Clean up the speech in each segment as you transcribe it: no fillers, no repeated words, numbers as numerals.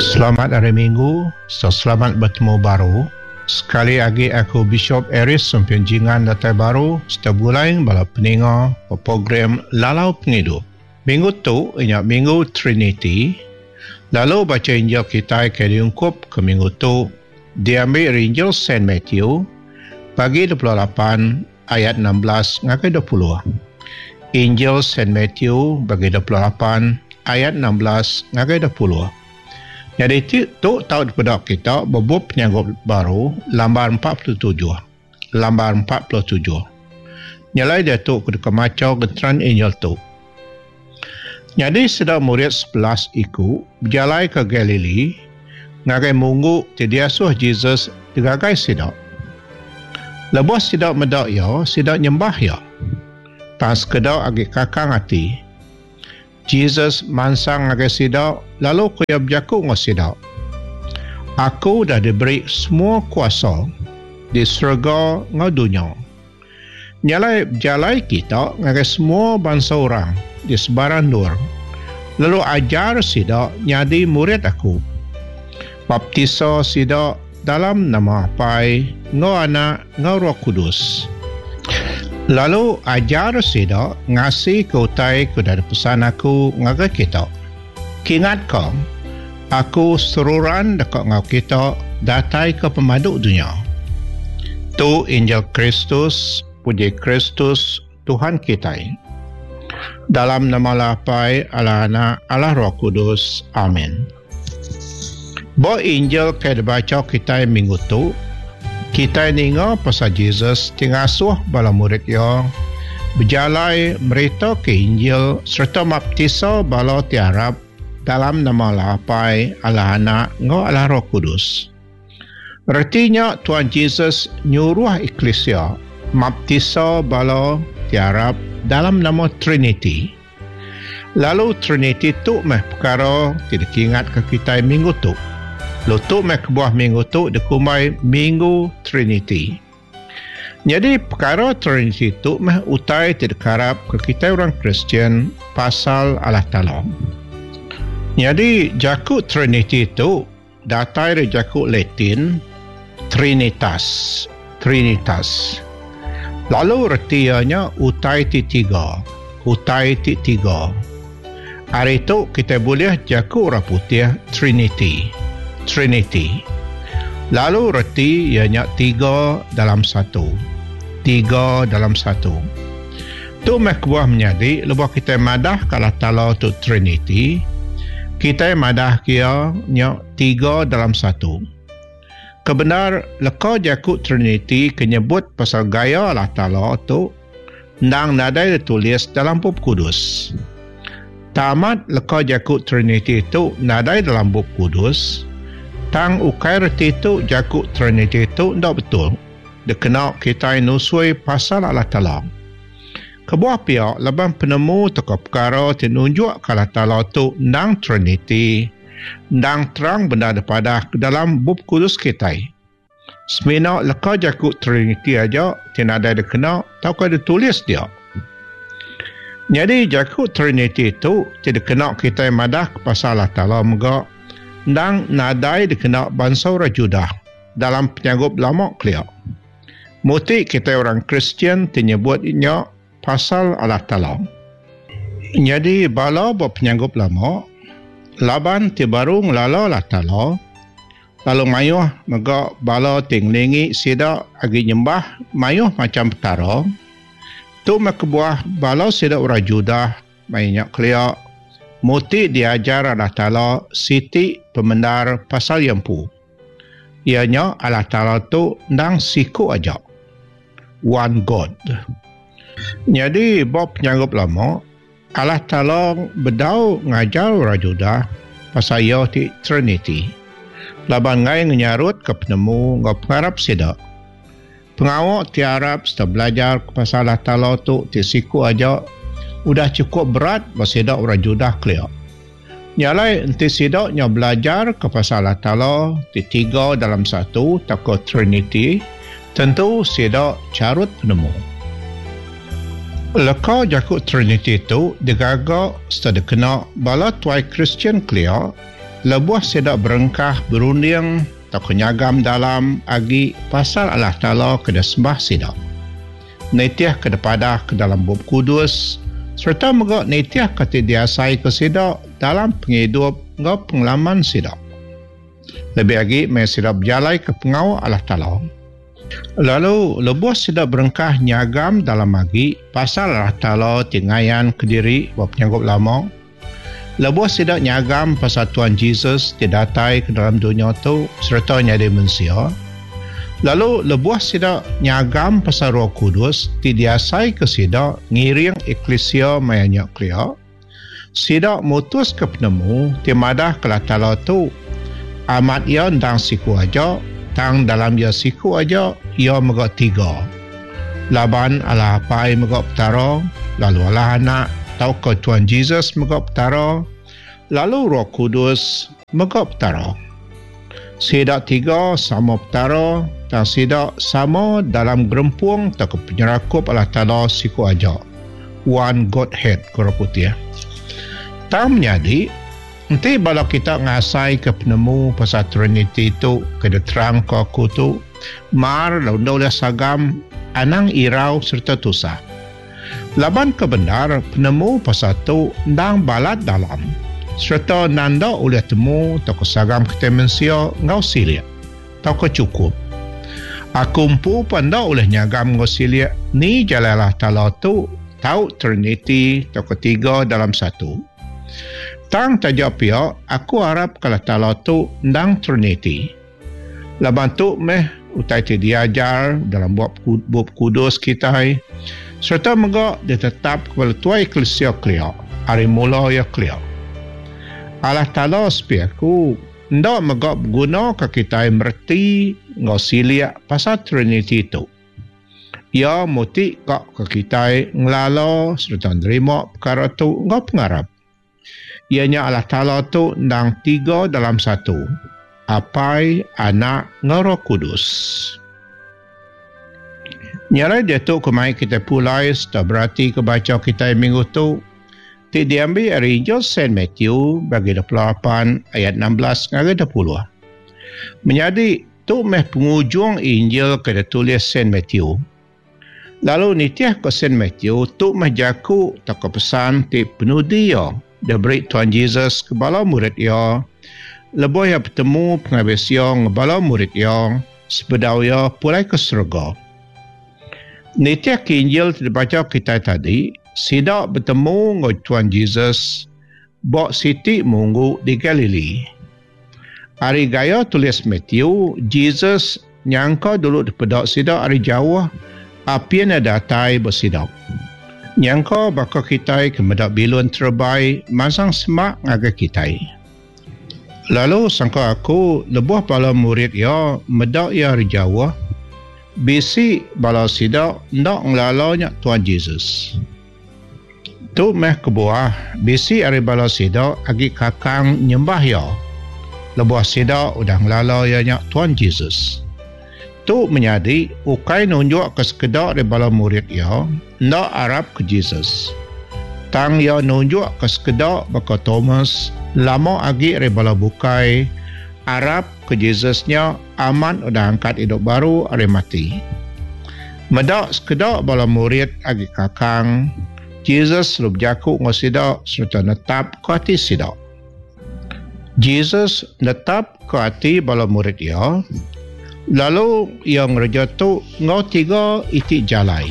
Selamat Hari Minggu serta selamat betemu baru. Sekali agi aku Bishop Aeries Sempian Jingan datai baru serta begulai bala peninga ba program Lalau Pengidup. Minggu tu inya Minggu Triniti lalu bacha Injil kitai ke diungkup ke minggu tu diambi ari Injil Saint Matthew bagi 28 ayat 16 ngagai 20. Injil Saint Matthew bagi 28 ayat 16 ngagai 20. Nyadi ti tu tau dipeda kita ba bup Penyanggup Baru lambar 47. Lambar 47. Nyelai diatu ku deka macha genteran Injil tu. Nyadi sida murid 11 iku bejalai ke Galili ngagai munggu ti diasuh Jesus digagai sida. Lebuh sida meda iya, sida nyembah iya. Tang sekeda agi kakang ati. Jesus mansang ngagai sida lalu ku iya bejaku enggau sida, Aku udah diberi semua kuasa di serega enggau dunya. Nya alai bejalai kita ngagai semua bansa orang di sebarang endur, lalu ajar sida nyadi murid aku. Baptisa sida dalam nama Apai enggau Anak enggau Roh Kudus. Lalu ajar sida ngasika utai ke udah dipesan aku ngagai kita. Kingatka, aku seruran deka enggau kita datai ke pemadu dunya. Tu Injil Kristus, puji Kristus, Tuhan kitai. Dalam nama Allah Apai, Allah Anak, Allah Roh Kudus. Amin. Ba Injil ke dibacha kitai minggu tu, kitai ninga pasal Jesus ti ngasuh bala murid iya bejalai meritaka Injil sereta maptisa bala ti arap dalam nama Allah Apai, Allah Anak enggau Allah Roh Kudus. Reti nya Tuan Jesus nyuruh eklisia maptisa bala ti arap dalam nama Triniti. Lalu Triniti tu meh pekara ti dikingatka kitai minggu tu. Lalu tu meh kebuah minggu tu dikumbai Minggu Triniti. Nyadi pekara Triniti tu meh utai ti dikarapka kitai orang Kristian pasal Allah Taala. Nyadi jaku Triniti tu Datai ari jaku Latin trinitas, trinitas. Lalu reti iya nya utai ti tiga, utai ti tiga. Ari tu kitai bulih jaku orang putih trinity, trinity. Lalu reti iya nya tiga dalam satu, tiga dalam satu. Tu meh kebuah menyadi lebuh kitai madah ka Allah Taala tu Triniti, kitai madah ke iya nya tiga dalam satu. Kebendar, leka jaku Triniti ke nyebut pasal gaya Allah Taala tu endang nadai ditulis dalam Bup Kudus. Tang amat leka jaku Triniti tu nadai dalam Bup Kudus, tang ukai reti tu jaku Triniti tu enda betul. Dikena kitai nusui pasal Allah Taala. Kebuah pia laban penemu tauka pekara ti nunjukka Allah Taala tu endang Triniti, endang terang bendar dipadah ke dalam Bup Kudus kitai. Semina leka jaku Triniti aja ti nadai dikena tauka ditulis dia. Nyadi jaku Triniti tu ti dikena kitai madah ke pasal Allah Taala mega endang nadai dikena bansa orang Judah. Dalam penyanggup lama kelia, muti kitai orang Kristian ti nyebut nya pasal Allah Taala. Nyadi bala ba penyanggup lama, laban ti baru ngelala Allah Taala, lalu mayuh mega bala ti ngelingi sida agi nyembah mayuh macham petara, tu meh kebuah bala sida orang Judah Maya nya kelia, muti diajar Allah Taala siti pemendar pasal Iya Empu. Iya nya Allah Taala tu endang siku aja. One God. Nyadi ba penyanggup lama, Allah Taala bedau ngajar orang Judah pasal Iya ti Triniti, laban enggai ngenyarutka penemu enggau pengarap sida. Pengawa ti arap sereta belajar ke pasal Allah Taala tu ti siku aja udah chukup berat ba sida orang Judah kelia. Nya alai enti sida nyau belajar ke pasal Allah Taala ti tiga dalam satu tauka Triniti, tentu sida charut penemu. Leka jaku Triniti tu digaga sereta dikena bala tuai Kristian kelia. lebuh sida berengkah berunding tauka nyagam dalam agi pasal Allah Taala ke disembah sida. Nitihka dipadahka dalam Bup Kudus sereta mega nitihka ti diasaika sida dalam pengidup enggau pengalaman sida. Lebih agi meh sida bejalaika pengawa Allah Taala. Lalu lebuh sida berengkah nyagam dalam agi pasal Allah Taala ti ngayanka diri ba penyanggup lama, lebuh sida nyagam pasal Tuan Jesus ti datai ke dalam dunya tu sereta nyadi mensia, lalu lebuh sida nyagam pasal Roh Kudus ti diasaika sida ngiring eklisia maya nya kelia, sida mutuska penemu ti madahka Allah Taala tu amat iya endang siku aja, tang dalam iya siku aja, iya mega tiga. Laban Allah Apai mega Petara, lalu Allah Anak tauka Tuan Jesus mega Petara, lalu Roh Kudus mega Petara. Sida tiga sama Petara, tang sida sama dalam gerempung tauka penyerakup Allah Taala siku aja, One Godhead, ku orang putih. Tang menyadi, enti bala kita ngasaika penemu pasal Triniti tu ke diterangka aku tu, mar lalu enda ulih sagam, anang irau sereta tusah. Laban ke bendar penemu pasal tu endang balat dalam sereta nanda ulih temu tauka sagam kitai mensia enggau silik tauka chukup. Aku empu pun enda ulih nyagam enggau silik ni jalai Allah Taala tu tau Triniti tauka tiga dalam satu. Tang taja pia aku arap ke Allah Taala tu endang Triniti. Laban tu meh utai ti diajar dalam Bup Kudus kitai sereta mega ditetapka bala tuai eklisia kelia ari mula iya kelia. Allah Taala sepi aku enda mega begunaka kitai mereti enggau silik pasal Triniti tu. Iya muti ka ke kitai ngelala sereta nerima pekara tu enggau pengarap. Iya nya Allah Taala tu endang tiga dalam satu, Apai, Anak enggau Roh Kudus. Nya alai diatu ku mai kitai pulai sereta beratika bacha kitai minggu tu ti diambi ari Injil Saint Matthew bagi 28 ayat 16 ngagai 20. Menyadi, tu meh pengujung Injil ke ditulis Saint Matthew. Lalu nitih ku Saint Matthew, tu meh jaku tauka pesan ti penudi iya diberi Tuan Jesus ke bala murid iya lebuh iya betemu pengabis iya enggau bala murid iya sebedau iya pulai ke serega. Nitih ke Injil ti dibacha kitai tadi, sida betemu enggau Tuan Jesus ba siti munggu di Galili. Ari gaya tulis Matthew, Jesus nyangka dulu dipeda sida ari jauh apin iya datai ba sida. Nyangka baka kitai ke meda bilun terebai mansang semak ngagai kitai. Lalu sangka aku lebuh bala murid iya meda iya ari jauh, bisi bala sida enda ngelala nya Tuan Jesus. Tu meh kebuah bisi ari bala sida agi kakang nyembah iya lebuh sida udah ngelala iya nya Tuan Jesus. Tu menyadi ukai nunjukka sekeda ari bala murid iya enda arapka Jesus. Tang iya nunjukka sekeda baka Thomas lama agi ari bala bukai arapka Jesus nya amat udah angkat idup baru ari mati. Meda sekeda bala murid agi kakang, Jesus lalu bejaku enggau sida sereta netapka ati sida. Jesus netapka ati bala murid iya, lalu iya ngereja tu enggau tiga iti jalai.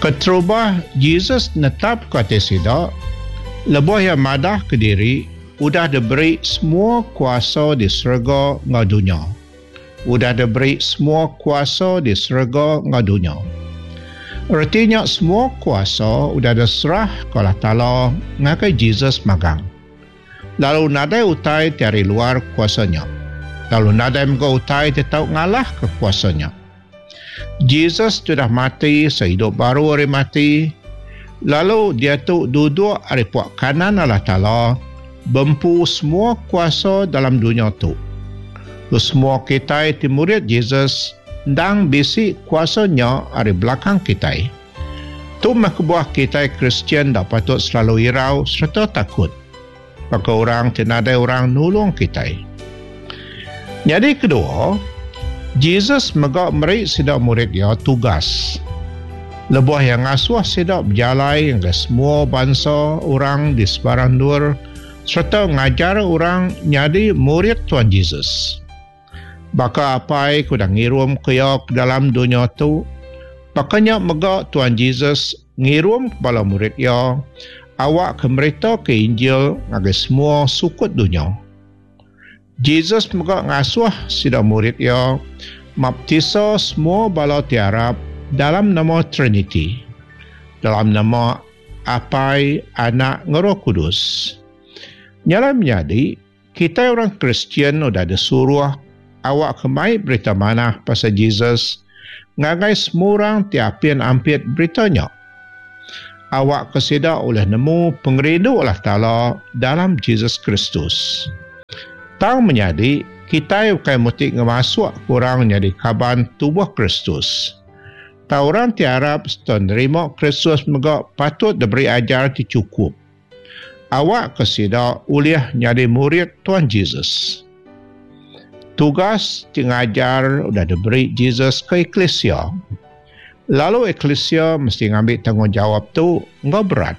Keterubah, Jesus netapka ati sida lebuh iya madahka diri udah diberi semua kuasa di serega enggau dunya. Udah diberi semua kuasa di serega enggau dunya. Reti nya semua kuasa udah diserah ke Allah Taala ngagai Jesus magang. Lalu nadai utai ti ari luar kuasa nya. Lalu nadai mega utai ti tau ngalahka kuasa nya. Jesus ti udah mati seidup baru ari mati, lalu diatu duduk ari puak kanan Allah Taala, bempu semua kuasa dalam dunya tu. Lalu semua kitai ti murid Jesus endang bisi kuasa nya ari belakang kitai. Tu meh kebuah kitai Kristian enda patut selalu irau sereta takut. baka orang ti nadai orang nulung kitai. Nyadi kedua, Jesus mega meri sida murid iya tugas. Lebuh iya ngasuh sida bejalai ngagai semua bansa orang di sebarang endur sereta ngajar orang nyadi murid Tuan Jesus. Baka Apai ke udah ngirumka iya ke dalam dunya tu, baka nya mega Tuan Jesus ngirumka bala murid iya awakka meritaka Injil ngagai semua sukut dunya. Jesus mega ngasuh sida murid iya maptisa semua bala ti arap dalam nama Triniti, dalam nama Apai, Anak enggau Roh Kudus. Nya alai menyadi, Kitai orang Kristian udah disuruh awakka mai Berita Manah pasal Jesus ngagai semua orang ti apin ampit berita nya. Awakka sida ulih nemu pengerindu Allah Taala dalam Jesus Kristus. Tang menyadi, kitai ukai muti ngemasukka orang nyadi kaban tubuh Kristus. Tang orang ti arap sereta nerima Kristus mega patut diberi ajar ti chukup. Awakka sida ulih nyadi murid Tuan Jesus. Tugas ti ngajar udah diberi Jesus ke eklisia. Lalu eklisia mesti ngambi tanggungjawap tu enggau berat.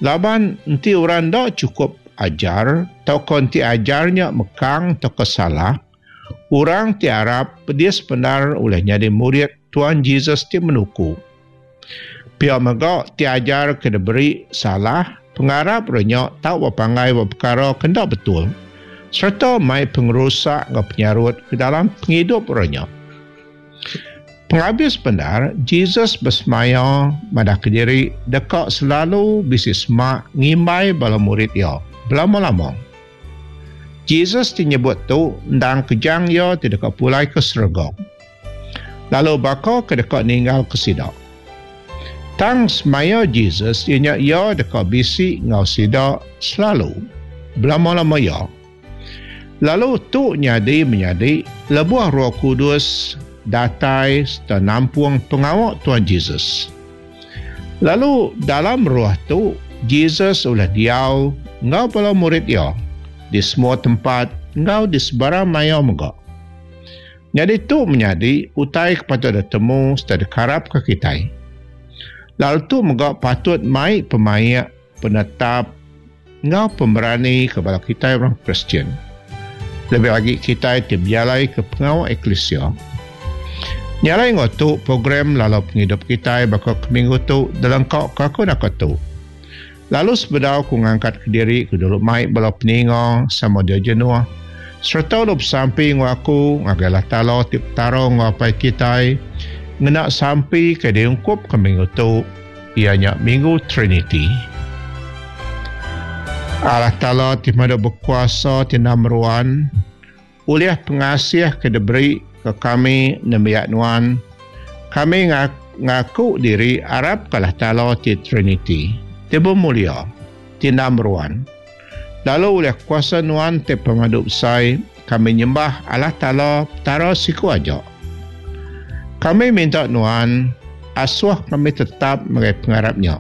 Laban enti orang enda chukup ajar tauka enti ajar nya mekang tauka salah, orang ti arap pedis bendar ulih nyadi murid Tuan Jesus ti menuku. Pia mega ti ajar ke diberi salah pengarap renya tau bepanggai ba pekara ke enda betul sereta mai pengerusak enggau penyarut ke dalam pengidup renya. Pengabis bendar, Jesus besemaya madahka diri deka selalu bisi semak ngimbai bala murid iya belama-lama. Jesus ti nyebut tu endang kejang iya ti deka pulai ke serega. Lalu baka ke deka ninggalka sida. Tang semaya Jesus iya nya iya deka bisi enggau sida selalu, belama-lama iya. Lalu tu nyadi menyadi lebuh Roh Kudus datai sereta nampung pengawa Tuan Jesus. Lalu dalam roh tu, Jesus ulih diau enggau bala murid iya di semua tempat enggau di sebarang maya mega. Nyadi tu menyadi utai ke patut ditemu sereta dikarapka kitai. Lalu tu mega patut mai pemaik, penetap enggau pemerani ke bala kitai orang Kristian. Lebih agi kitai ti bejalaika pengawa eklisia. Nya alai enggau tu program lalau pengidup kitai baka ke minggu tu dilengkaka aku naka tu. Lalu sebedau ku ngangkatka diri ku dulu mai bala peninga sama dia jenuh sereta dulu besampi enggau aku ngagai Allah Taala ti Petara enggau Apai kitai ngena sampi ke diungkupka minggu tu iya nya Minggu Triniti. Allah Taala ti pemadu bekuasa ti enda meruan ulih pengasih ke diberi ke kami nembiak nuan kami ngaku diri arapka Allah Taala ti Triniti ti bemulia ti enda meruan lalu ulih kuasa nuan ti pemadu besai kami nyembah Allah Taala Petara siku aja. Kami minta nuan asuh kami tetap ngagai pengarap nya.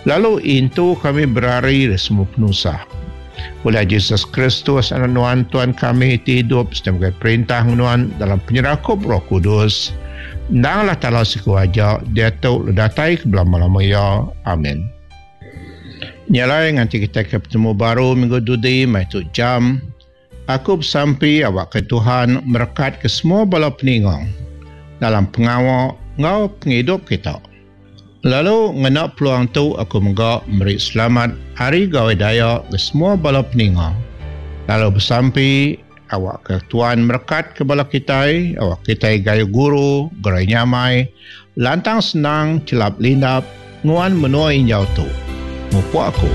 Lalu intu kami berari ari semua penusah. Ulih Jesus Kristus Anak nuan Tuan kami ti idup sereta megai perintah enggau nuan dalam penyerakup Roh Kudus, endang Allah Taala siku aja, diatu lalu datai ke belama-lama iya. Amin. Nya alai nganti kitai ke betemu baru minggu dudi meh tu jam. Aku besampi awakka Tuhan merekatka semua bala peninga dalam pengawa enggau pengidup kita. Lalu ngena peluang tu aku mega meri selamat Hari Gawai Dayak ke semua bala peninga. Lalu besampi awakka Tuhan merekatka bala kitai, awak kitai gayu guru, gerai nyamai, lantang senang, chelap lindap nguan menua injau tu. Mupuk aku.